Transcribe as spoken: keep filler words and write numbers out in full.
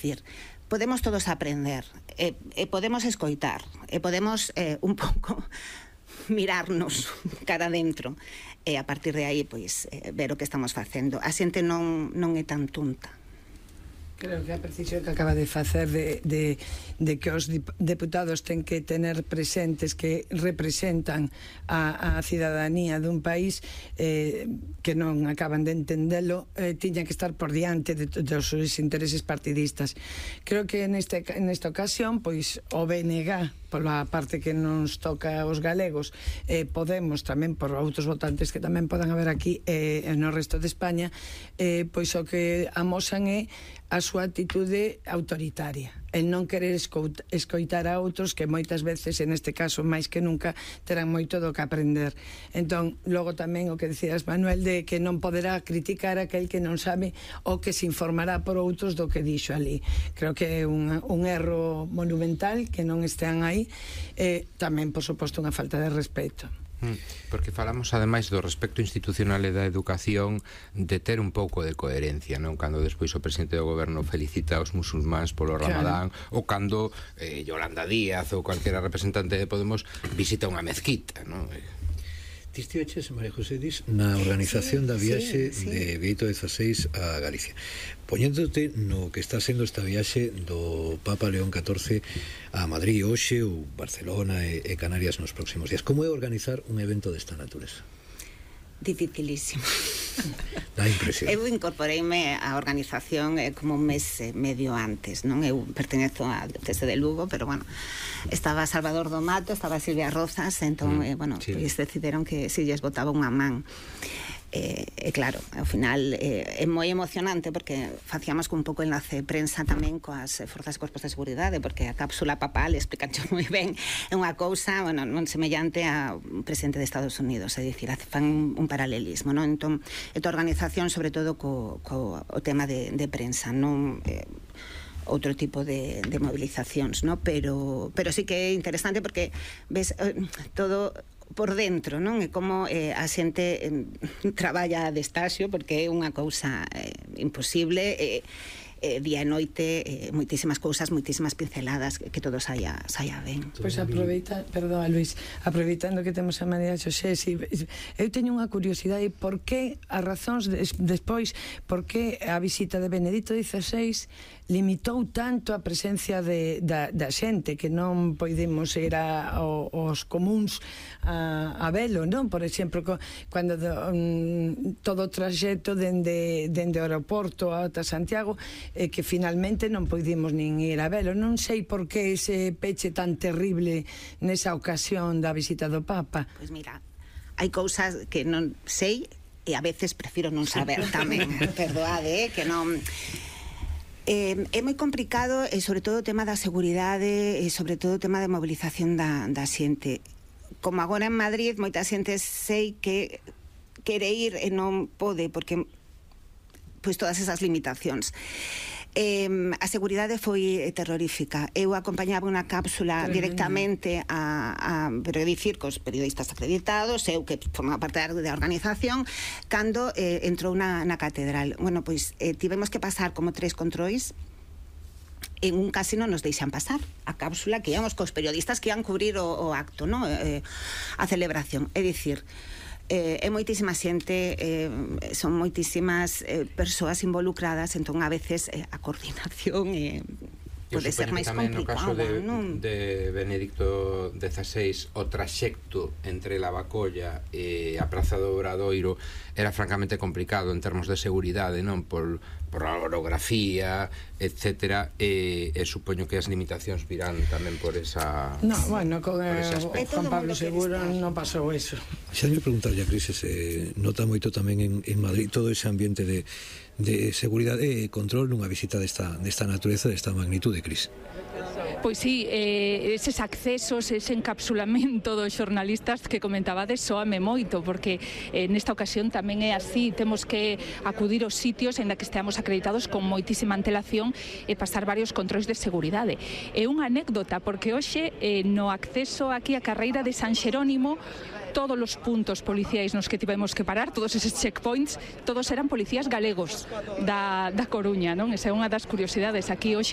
dicir, podemos todos aprender, e, e podemos escoitar, e podemos eh, un pouco mirarnos cara adentro, e a partir de aí, pois, eh, ver o que estamos facendo. A xente non, non é tan tonta. Creo que a precisión que acaba de facer de, de, de que os deputados ten que tener presentes que representan a, a cidadanía dun país eh, que non acaban de entendelo, eh, tiña que estar por diante de, de, dos seus intereses partidistas. Creo que neste, nesta ocasión, pois, o B N G, pola parte que nos toca aos galegos, eh, Podemos tamén por outros votantes que tamén podan haber aquí eh, no resto de España, eh, pois o que amosan é a súa actitude autoritaria, el non querer escoitar a outros que moitas veces, en este caso máis que nunca, terán moito do que aprender. Entón, logo tamén o que decías, Manuel, de que non poderá criticar aquel que non sabe ou que se informará por outros do que dixo ali. Creo que é un, un erro monumental que non estean aí, e tamén, por suposto, unha falta de respeto. Porque falamos ademais do respecto institucional e da educación, de ter un pouco de coherencia, non? Cando despois o presidente do goberno felicita aos musulmáns polo Ramadán, claro. Ou cando eh, Yolanda Díaz ou calquera representante de Podemos visita unha mezquita, non? Ti estiveches, María José Dis, na organización da viaxe sí, sí. de Benedicto dezasseis a Galicia. Poñéndote no que está sendo esta viaxe do Papa León catorce a Madrid hoxe, ou Barcelona e, e Canarias nos próximos días. Como é organizar un evento desta natureza? Dificilísimo. Dá impresión. Eu incorporeime á organización eh, como un mes eh, medio antes, non? Eu pertenezo á diocese de Lugo, pero bueno, estaba Salvador do Mato, estaba Silvia Rozas, entón, mm, eh, bueno, sí. Pois decidiron que si lles botaba unha man. E, eh, eh, claro, ao final eh, é moi emocionante porque facíamos con un pouco enlace de prensa tamén coas forzas e corpos de seguridade, porque a cápsula papal explica moi ben, é unha cousa, bueno, non semellante a un presidente de Estados Unidos, é dicir, fan un paralelismo, non? Entón, esta organización sobre todo co, co o tema de, de prensa, non eh, outro tipo de, de movilizacións, no? Pero, pero sí que é interesante porque ves eh, todo por dentro, non? E como eh, a xente eh, traballa de estaxio, porque é unha cousa eh, imposible, eh, eh, día e noite, eh, moitísimas cousas, moitísimas pinceladas, que, que todo saia, saia ben. Pois aproveita, perdón, Luis, aproveitando que temos a María Xosé, si, eu teño unha curiosidade, por que as razóns des, despois, por que a visita de Benedicto dezasseis limitou tanto a presencia de, da, da xente, que non podemos ir a, o, os comuns a, a velo, non? Por exemplo, co, cando do, um, todo o traxecto dende, dende o aeroporto ata Santiago, eh, que finalmente non podimos nin ir a velo. Non sei por que ese peche tan terrible nesa ocasión da visita do Papa. Pois mira, hai cousas que non sei e a veces prefiro non saber tamén, perdoade, eh, que non... Eh, é moi complicado, e sobre todo o tema da seguridade e sobre todo o tema de mobilización da, da xente. Como agora en Madrid moita xente sei que quere ir e non pode porque pois todas esas limitacións. Eh, a seguridade foi terrorífica. Eu acompañaba unha cápsula directamente a, a pero dicir cos periodistas acreditados, eu que formaba parte da organización, cando eh, entrou na, na catedral. Bueno, pois eh, tivemos que pasar como tres controis. En un casi non nos deixan pasar a cápsula que íamos cos periodistas que iban cubrir o, o acto, no? eh, a celebración. É dicir, Eh, é moitísima xente, eh, son moitísimas eh, persoas involucradas, entón a veces eh, a coordinación eh, pode ser máis complicada, no caso de, non? de Benedicto dezasseis, o traxecto entre Lavacolla e a Praza do Obradoiro era francamente complicado en termos de seguridade, non? Por, por a orografía, etcétera, e, e supoño que as limitacións virán tamén por esa... No, bueno, con eh, Juan Pablo Seguro non pasou eso. Xa me preguntar, ya, Cris, se nota moito tamén en, en Madrid todo ese ambiente de de seguridade e control nunha visita desta, desta natureza, desta magnitude, Cris. Pois sí, eh, eses accesos, ese encapsulamento dos xornalistas que comentabades soame moito, porque eh, nesta ocasión tamén é así, temos que acudir aos sitios en da que esteamos acreditados con moitísima antelación e pasar varios controis de seguridade. É unha anécdota, porque hoxe eh, no acceso aquí á carreira de San Xerónimo, todos os puntos policiais nos que tivemos que parar, todos eses checkpoints, todos eran policías galegos da, da Coruña, non? Esa é unha das curiosidades aquí hoxe.